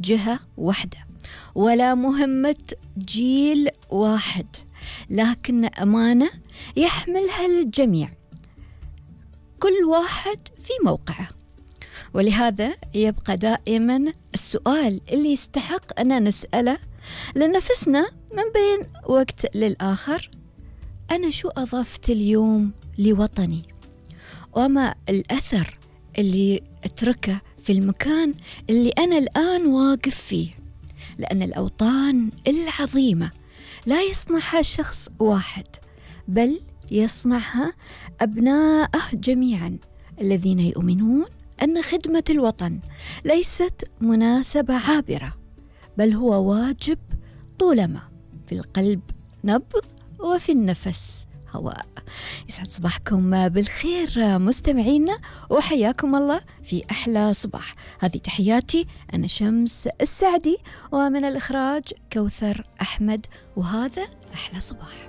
جهة واحدة ولا مهمة جيل واحد، لكن أمانة يحملها الجميع، كل واحد في موقعه. ولهذا يبقى دائما السؤال اللي يستحق أن نسأله لنفسنا من بين وقت للآخر: أنا شو أضفت اليوم لوطني؟ وما الأثر اللي أتركه في المكان اللي أنا الآن واقف فيه؟ لأن الأوطان العظيمة لا يصنعها شخص واحد، بل يصنعها أبناءه جميعا الذين يؤمنون أن خدمة الوطن ليست مناسبة عابرة، بل هو واجب طولما في القلب نبض وفي النفس هواء. يسعد صباحكم بالخير مستمعينا، وحياكم الله في أحلى صباح. هذه تحياتي، أنا شمس السعدي، ومن الإخراج كوثر أحمد، وهذا أحلى صباح.